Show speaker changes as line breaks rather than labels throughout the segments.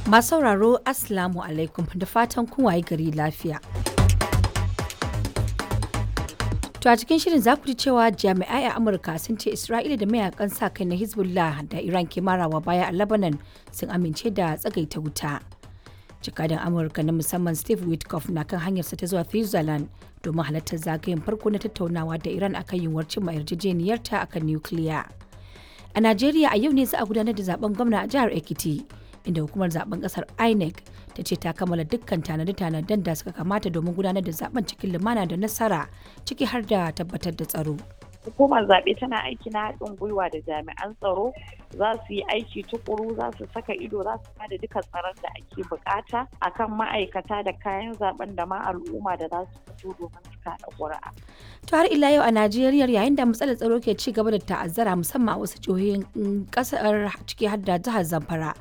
Masu sauraro, Assalamu alaikum, da fatan kun waye gari lafiya. To a cikin shirin za ku ji cewa jami'ai a Amurka sun ce Isra'ila da mayakan sa kai na Hezbollah da Iran ke marawa baya a Lebanon sun amince da tsagaita wuta. Jakadan Amurka na musamman Steve Witkoff na kan hanyarsa ta zuwa Switzerland domin halartar zagayen farko na tattaunawa da Iran akan yiwuwar cimma yarjejeniyarta akan nukiliya. A Najeriya a yau ne za a gudanar da zaben gwamna a jihar Ekiti, inda hukumar zaben kasar INEC ta ce ta kammala dukkan tanade-tanaden da suka kamata domin gudanar da zaben cikin lumana da nasara, ciki har da tabbatar da tsaro.
Hukumar zaɓe tana aiki na haɗin gwiwa da jami'an tsaro, za su yi aiki tukuru, za su saka ido, za su bada duka tsaron da ake bukata akan ma'aikata da kayan zaben da ma al'umma da za su fito domin su kaɗa ƙuri'a.
To har ila yau a Najeriya, yayin da matsalar tsaro ke ci gaba da ta'azzara musamman a wasu jihohin kasar, ciki har da jihar Zamfara.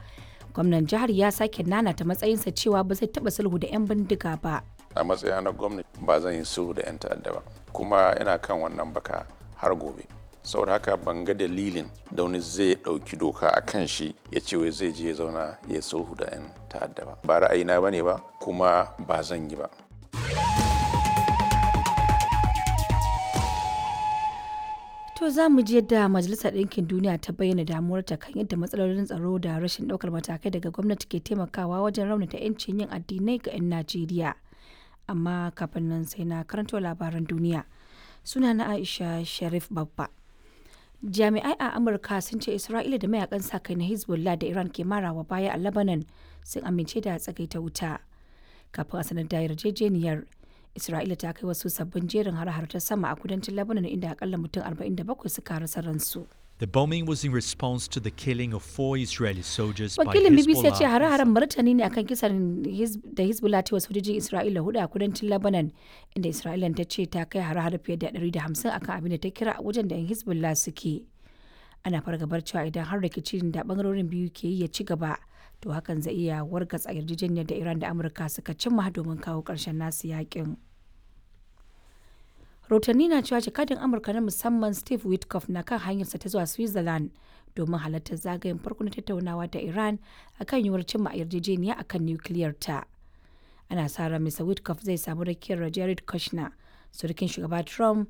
Gwamnan jihar ya sake nanata matsayinsa cewa ba zai taɓa sulhu da 'yan bindiga ba.
A matsayina na gwamnati, ba zan yi sulhu da 'yan ta'adda ba, kuma ina kan wannan baka har gobe. Saboda haka ban ga dalilin da wani zai ɗauki doka a kan shi ya ce wai zai je ya zauna ya sulhu da 'yan ta'adda ba. Ba ra'ayina ba ne ba, kuma ba zan yi ba.
To za mu ji yadda Majalisar Ɗinkin Duniya ta bayyana damuwarta kan yadda matsalolin tsaro da rashin ɗaukar matakai daga gwamnati ke taimakawa wajen raunata 'yancin yin addinai ga 'yan Najeriya. Amma kafin nan sai na karanto labaran duniya. Suna na Aisha Sharif Babba. Jami'ai a Amurka sun ce Isra'ila da mayakan sa kai na Hezbollah da Iran ke marawa baya a Lebanon sun amince da tsagaita wuta. Kafin a sanar da yarjejeniyar, Isra'ila ta kai wasu sabbin jerin har-har ta sama a kudancin Lebanon, inda akalla mutum 47 suka rasa ransu.
The bombing was in response to the killing of four Israeli soldiers by
Wakilin BBC ya ce
Hezbollah.
hare-haren martani ne akan kisan da Hezbollah ta yi wa sojojin Isra'ila hudu a kudancin Lebanon, inda Isra'ila ta ce ta kai hare-hare fiye da 150 akan abin da ta kira wajen da 'yan Hezbollah suke. Ana fargabar cewa idan har rikicin da bangarorin biyu ke yi ya ci gaba, to hakan zai iya wargatsa yarjejeniyar da Iran da Amurka suka cimma domin kawo ƙarshen nasu yakin. Rahotanni na cewa jakadin Amurka na musamman Steve Witkoff na kan hanyarsa ta zuwa Switzerland domin halartar zagayen farko na tattaunawa da Iran akan yiwuwar cimma yarjejeniya akan nukiliyar ta. Ana sa ran Mr. Witkoff zai samu rakiyar Jared Kushner, surukin shugaba Trump,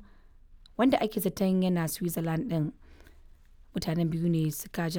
wanda ake zaton yana Switzerland din. Mutanen biyu ne suka